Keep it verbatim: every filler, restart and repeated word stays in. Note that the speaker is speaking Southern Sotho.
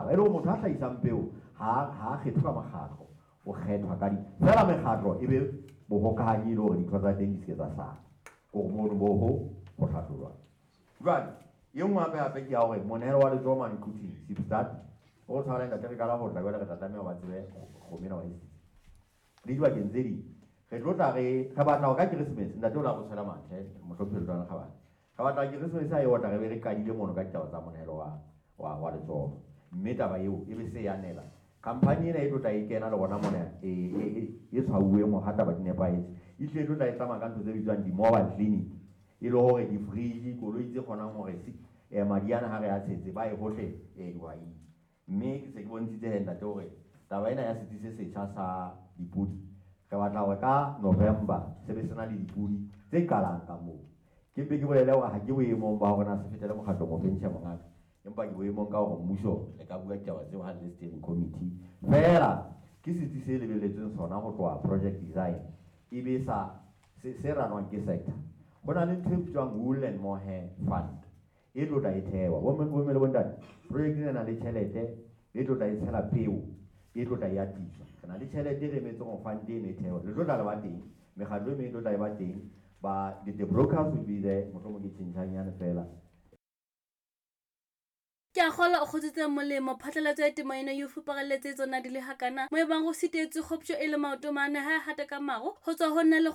Setjhaba. E le hore motho a hlahisang peo ha ha kgethwe ka mokgatlo, o kgethwa ka di fela mekgatlo e be bohokahanyi e le hore dintho tsa teng di se ke tsa sala. Hore mono bo ho ho hlahlojwa. Jwale e nngwe hape hape ke ya hore monehelo wa letsoho mane Quthing, Sipstad, o tshwara ntate re qala ho tla jwale re tla tlameha ho ba tsebe kgomo ena wa e sitse. Le dibakeng tse ding re tlo tla re re batla hore ka Keresemese ntate o la re tshwela mathe mohlomphehi Letona le Kgabane. Re batla Keresemese ha e otla re be re qadile mono ka ditaba tsa monehelo wa wa wa letsoho. Mme taba eo e be se ya nela. Khamphani ena e tlo tla e kena le rona mona e e e tshwauweng hore ha taba di nepahetse. E hlile e tlo tla e tsamaya ka ntho tse bitswang di-mobile clinic. E le hore di-fridge, koloi tse kgonang hore eh, madi ana ha re a tshetse ba ye hohle eh, dihwaing. Mme ke se ke bontshitse he ntate hore taba ena ya setsi se setjha sa dipodi re batla hore ka November se be se na le dipodi tse qalang ka moo. Ke mpe ke bolele hore ha ke boemong ba hore na se fetele mokgatlong o feng, tjhe mongaka. Empa ke boemong ka hore mmuso le ka bua ditaba tseo ha le le steering committee. Feela ke setsi se lebelletsweng sona ho tloha project design e be sa se, se ranwang ke sector. Ho na le ntho e bitswang Wool and Mohair Fund e tlo tla e thewa. Bomme bomme le bontate, project ena e na le tjhelete e tlo tla e tshela peo e tlo tla e atiswa. Re na le tjhelete e re emetseng hore fund eno e thewe. Le tlo tla le ba teng, mekgatlo e meng e tlo tla e ba teng. Ba the, the brokers will be there, mohlomong ke tjhentjhanyane fela. Ke a kgolwa o kgotsitse molemo. Phatlalatso ya temo eno e o fuparelletse tsona di le hakana mo ebang go sitetswe kgoptjo e le maoto mane ha e hata ka maro ho tswa ho nna le